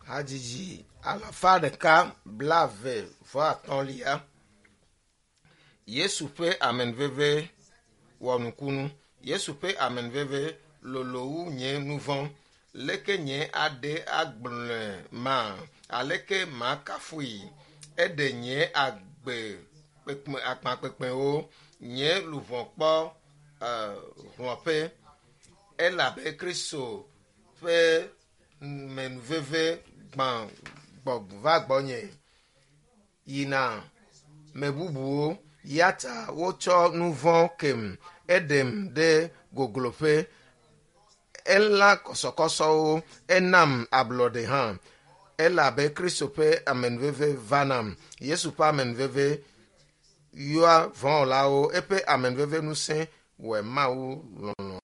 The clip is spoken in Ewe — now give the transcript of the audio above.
Hadzidzi alafa ɖeka blaeve vɔ atɔ̃lia. Yesu ƒe amenuveve wɔ nukunu. Yesu ƒe amenuveve lolo wu nye nu vɔ̃. Leke nye aɖe agblɔe ma? Aleke makafui? Eɖe nye agbe kpekpe akpa kpekpewo. Nye luʋɔ kpɔ uh, hlɔ̃ƒe elabe Kristo ƒe menuveve gbã gbɔ va gbɔnye yina me bubuwo ya ta wotsɔ nu vɔ̃ kem eɖem ɖe gogloƒe elã kɔsɔkɔsɔwo enam ablɔɖe hã elabe Kristo ƒe amenuveve va nam. Yesu ƒe amenuveve yɔa vɔ̃wɔlawo eƒe amenuveve ŋusẽ wɔe Mawu lɔlɔ̃.